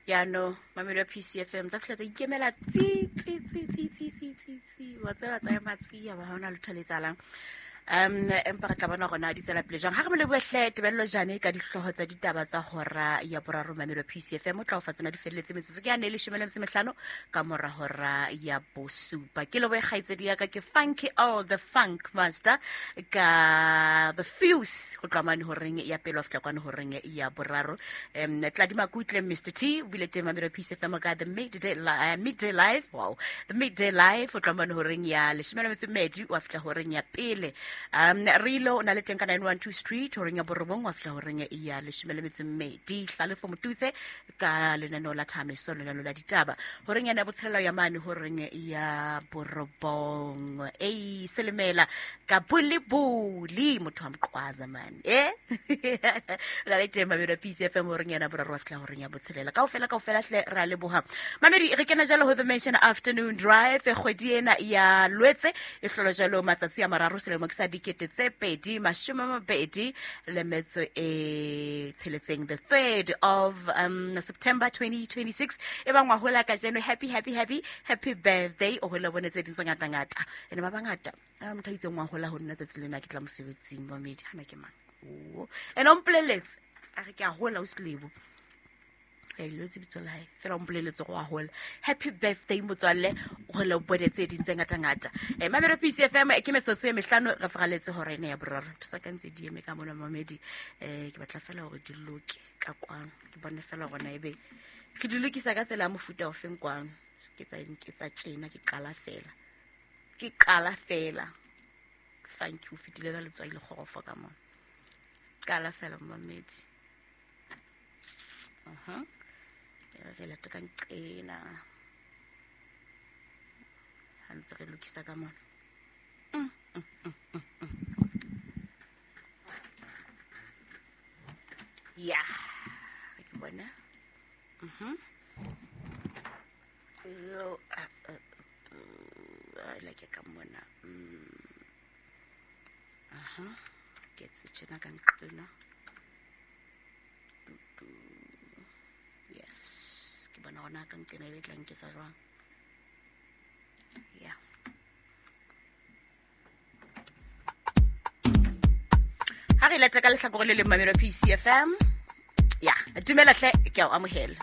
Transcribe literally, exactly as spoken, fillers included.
Ya no mamelo ya P C F M tsa fihla tsa ikemela tsi tsi tsi tsi tsi tsi tsi tsi wa tseba tsa ema tsi ya ba ha hona letho le etsahalang. Um empa re tla bona hore na di tswela pele jwang. Ha re mo lebohe Tebello Jane ka dihlooho tsa ditaba tsa hora ya boraro mamelo P C F M o tla o fa tsona di felletse metsotso ke ya ne leshome le metso e mehlano ka mora hora ya bosupa. Ke lebohe kgaitsedi ya ka ke Funky All the Funk Master ka The Fuse ho tloha mane horeng ya pele ho fihla kwana horeng ya boraro. Um Tladi Makutle Mister T o bile teng mamelo P C F M ka The Midday uh, Midday Live. Wow. The Midday Live ho tloha mane horeng ya leshome le metso e mmedi ho fihla horeng ya pele. Um Rilo o na le teng ka nine one two Street horeng ya borobong wa fihla horeng ya leshome le metso e mmedi. Hlalefo Motutse ka lenaneo la Thameso lenaneo la ditaba horeng ya botshelela ya mane horeng ya borobong. Ei selemela ka bulibuli motho wa mqwaza man eh la le teng mamelo P C F M horeng ya boraro wa fihla horeng ya botshelela. Kaofela kaofela hle ra leboha mamedi re kena jalo ho The Mention Afternoon Drive kgwedi ena ya Lwetse e hlola jalo matsatsi a mararo selemo ke sa dikete tse pedi mashome a mabedi le metso e tsheletseng, the third of um, September twenty twenty-six. E bang wa hola kajeno, happy happy happy happy birthday. O hola bone tse ding tse ngata ngata ene ba bangata a motho a itseng wa hola ho nna tsatsi lena ke tla mosebetsing mamedi hana ke mang o ene o mpoleletse a re ke a hola o selebo e lotse bitso la hae fela o mpoleletse go a hola. Happy birthday motswalle, o hola o bone tse ding tse ngata ngata. Eh mamelo P C F M ke metsotso e mehlano re fraletse hore ene ya boraro ntho tsa ka ntse di eme ka mona mamedi. Eh ke batla fela hore di loke ka kwano ke bone fela hore na ebe ke di lokisa ka tsela ya mofuta o feng kwano ke tsa ke tsa tjena ke qala fela ke qala fela. Thank you fitile ka letswai le kgorofo ka mona qala fela mamedi. Aha re lata ka nqena ha ntse re lokisa ka mona. Mm, mm, mm, mm, mm. Ya ke bona. Mhm yo a like ka mona. Aha ke tse tjena ka nqena. Yes, ke bona hona ka nkena e tla nketsa jwang. Yeah. Ha re lata ka lehlakore le leng mamelo P C F M. Yeah, dumela hle ke a o amohela.